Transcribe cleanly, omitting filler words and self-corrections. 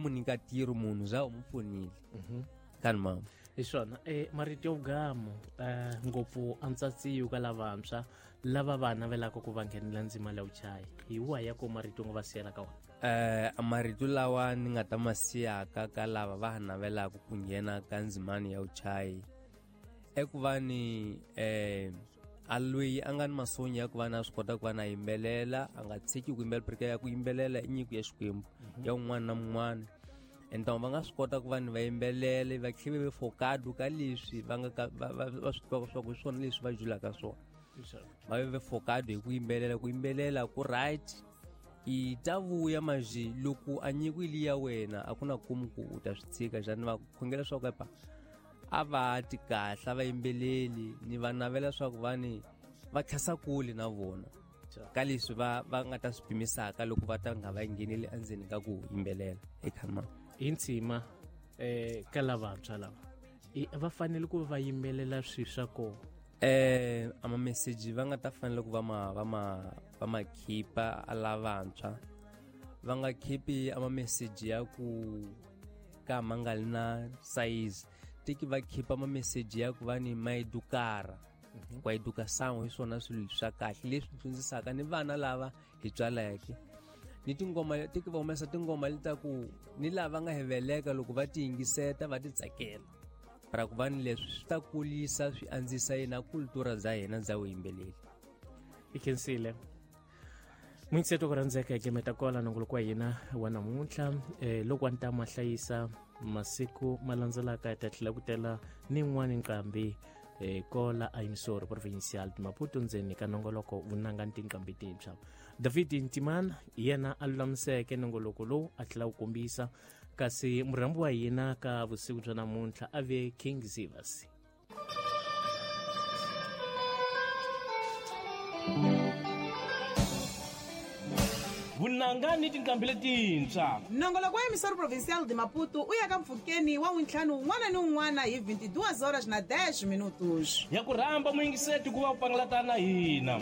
mu nyika ntirho munhu za u mu pfunile. Kani mama. Hi swona marito yo gamo ngopfu a ntsatsiyo ka lavantshwa lava va navelaka ku va nghenela ndzima leyi vuchayi hi wahi ya ko marito u nga va siyela ka wona? Marito lawa ni nga ta ma siyaka ka lava va navelaka ku nghena ka ndzimani ya vuchayi i ku va ni a loyi a nga ni masonya ya ku va na swi kota ku va na yimbelela, a nga tshiki ku yimbelela, porque ya ku yimbelela i nyiko ya Xikwembu ya un'wana na un'wana. Ene va nga swi kota ku va ni va yimbelele va tlhela va focado ka leswi va nga ka va swi tivaka swa ku hi swona leswi va julaka swona. Va ve focado hi ku yimbelela, ku yimbelela ku right i ta vuya maji loko a nyiko ili ya wena a ku na kumu ku u ta swi tshika. Xana va khongela swa ku epa a va ti kahle a va yimbeleli, ni va navela swa ku va ni va tlhasa kule na vona ka leswi va nga ta swi pimisaka loko va ta nga va ngheneli endzeni ka ku yimbelela eka ma. Hi ntsima ka lavantshwa lava va fanele ku va yimbelela swilo swa kona. A mameseji va nga ta fanele ku va ma khipa a lavantshwa, va nga khipi a mameseji ya ku ka ma nga li na size, tiki va khipa mameseji ya ku va ni ma edukara ku education hi swona swilo swa kahle leswi dyondzisaka ni vana lava hi tswaleke ni tingoma tiki va humesa tingoma leta ku ni lava nga heveleka loko va ti yingiseta va ti tsakela ra ku va ni leswi swi ta kulisa swi andzisa yena kultura bya hina bya vuyimbeleri. I khensile muyingiseto ku rhandzeka hi gemeta kola nongoloko wa hina wa namuntlha. Loko wa ni ta ma hlayisa masiku ma landzelaka hi ta tlhela ku tela ni yin'wani nqambi kola a emisoro provincial de Maputo ndzeni ka nongoloko vunanga ni tinqambi tintshwa. David Ntimana yena a lulamiseke nongoloko lowu a tlhela wu kombisa, kasi murhambi wa hina ka vusiku bya namuntlha a ve King Zivas. Vunanga ni tinqambi letintshwa. Nongoloko wa emisoro provincial de Maputo u ya ka mpfhukeni wa wuntlhanu wun'wana ni wun'wana hi 22 horas na 10 minutos. Ya ku rhamba muyingiseti ku va u pangalatana na hina.